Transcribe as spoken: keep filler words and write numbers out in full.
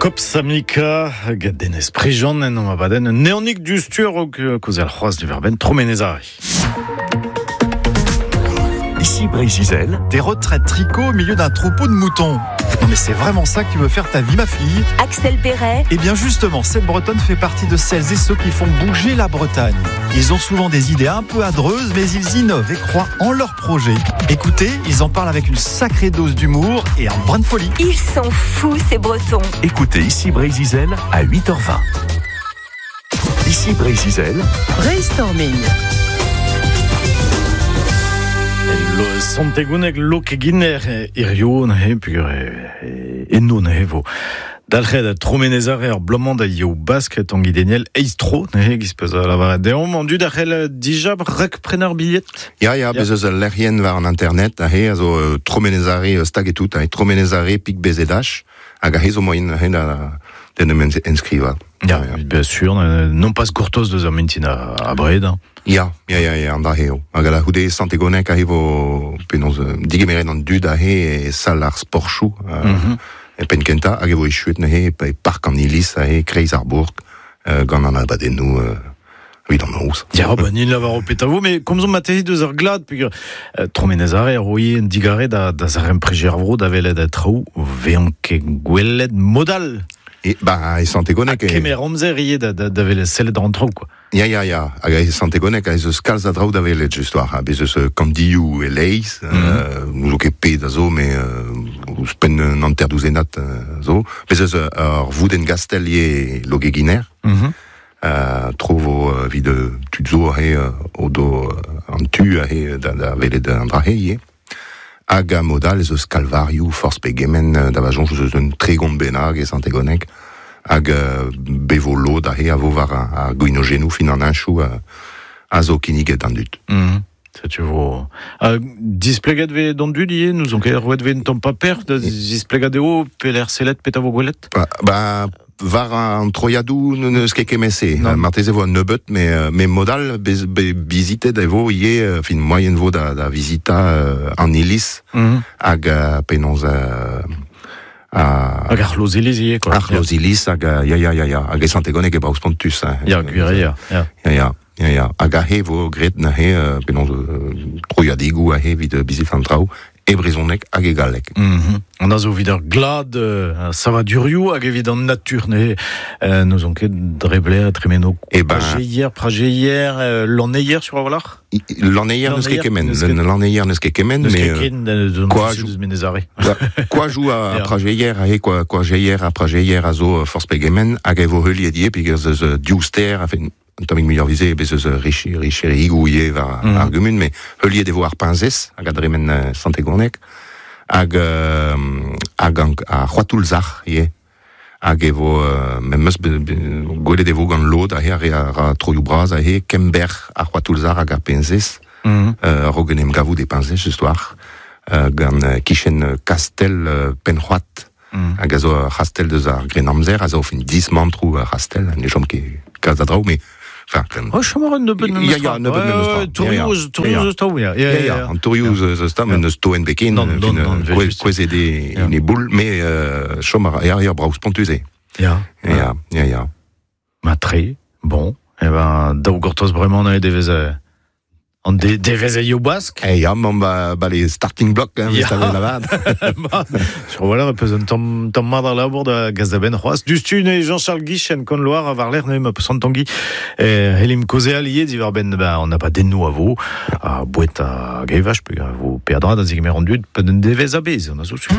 Kopsamika, gant Denez Prigent en omp abadenn neonik du stur o kozel c'hoaz diverben Tromenezari. Ici Brézizel, des retraites tricot au milieu d'un troupeau de moutons. Non mais c'est vraiment ça que tu veux faire ta vie, ma fille? Axel Perret. Eh bien justement, cette Bretonne fait partie de celles et ceux qui font bouger la Bretagne. Ils ont souvent des idées un peu adreuses, mais ils innovent et croient en leurs projets. Écoutez, ils en parlent avec une sacrée dose d'humour et un brin de folie. Ils sont fous, ces Bretons. Écoutez Ici Brézizel à huit heures vingt. Ici Brézizel. Brainstorming. Lo Santegunek lokeginer irioù neuze pugur enno neuze vo. Dalc'het Tromenezare ar blomañ da eo bask Tangi Daniel eiz tro neuze giz peus a lavaret deomp an dud a c'hell dija rek prener billet. Ya, ya, bez eus ul lec'hienn war an internet aze a zo Tromenezare stag et tout, Tromenezare pik bezedach hag aze zo moien aze da d'en em enskriva. Ya, ya, bien sûr, non pas gortoz deus ar mintin a, a bred. Hein. Ya, ya, ya, ya, an da eo. Hag a la houde Santegonek aze vo penaos digemeret an dud aze e sal ar sportchou mm -hmm. e penkenta hag e vo echuet neuze e park an iliz aze kreiz ar bourg euh, gant an abadennoù euh, evit an noz. Ya, ba nin lavar o petavo, mais komzomp materi deus ar glad, pugur euh, Tromenezare ar roie en digare da, da zarem prejer ar vro da velet a traoù vean ket gwelet modal. E, ba, e Santegonek... Kemer amzer ivez da, da, da velet sellet an traoù, quoi. Ya, ya, ya. Hag e Santegonek a ez eus kalz a draoù da velet, just war. Ha, bez eus kandioù e leiz, mm -hmm. euh, n'ouzo ket pet a zo, mais euh, ouzhpenn un hanter douzenad euh, zo. Bez eus ur voudenn gastel ivez logeginer. Mm -hmm. Euh, tro vo euh, vid tud zo aze o do an tu aze da, da velet an dra-he ivez. Hag a modal ez eus kalvarioù forzh pegement da va soñj eus un tregont bennak e Santegonek hag euh, bevo lod aze a vo war ar gwinogennoù fin an heñchoù a zo kinniget an dud. Mm -hmm. Setu vo. Uh, displeget ve d'an dud ivez, nous on ket roet ve un tamm paper da displegat eo peler sellet pet a vo gwelet? Ba, ba war an troiadoù n'eus ket kement-se. Marteze vo an nebeut, mais, mais modal bez, be, bizitet e vo ivez, fin moaien vo da, da vizita euh, an iliz mm -hmm. hag uh, penaos uh, a hag ar c'hloz-iliz ivez, quoi. Ar c'hloz-iliz hag ya ya ya ya hag e Santegonek e brav spontus. Hein. Ya, gwir ya. Ya ya ya. Ya ya. Hag aze vo graet neuze penaos troiadigoù aze evit bizit an traoù e brezhoneg hag e galleg. Mm -hmm. An a zo evit ar glad uh, savadurioù hag evit an natur neuze euh, nous on ket dre blaer tremeno e ben prajeier, prajeier, euh, lanneier sur a walc'h? Lanneier n'eus ket kement, lanneier n'eus ket kement, mais quoi jou Menezare. Quoi jou a prajeier aze quoi quoi jeier a prajeier a zo forzh pegement hag e vo heuliet ivez pig eus div ster afen un tammig muioc'h vize bez eus richi richerigoù ivez war mm. ar gumun, mais heuliet e vo ar piñzez hag a dremen Santegonek hag euh, hag an, ar c'hoatoulzac'h ivez hag e vo euh, memes gwelet e vo gant lod aze ar ra troioù bras aze kember ar c'hoatoulzac'h hag ar piñzez mm -hmm. euh, a-raok en em gavout e piñzez just war euh, gant kichen kastel euh, Pennc'hoad mm. hag a zo ar c'hastell deus ar Grennamzer a zo fin dismantroù ar c'hastell ne chom ket kalz a draoù mais enfin, oh, chom a ran nebeut memes tra. Ya, ya, nebeut memes tra. Tourioù eus eus taoù, ya. Ya, ya, an tourioù eus eus taoù, met n'eus toen beken, kouezhet eo en e boull, mais chom a ra, ya, ya, brav spontus eo. Ya. Ya, ya, ya. Ma tre, bon, eh ben, daou gortoz bremañ neuze devez An de, devez eo bask. Eh ya, mañ ba, ba les starting blocks, hein, ya. Lavar. Sur voilà, peus un tamm tamm mat ar labour da gaz da benn c'hoazh. Dustu ne Jean-Charles Guichen kon loar a war lec'h ne ma peus an Tangi eh, helim kozeal ivez diwar benn ba an abadennoù a vo a bouet a gevaj pe a vo peadra da zegemer an dud pe un devez a bez, an a zo sur.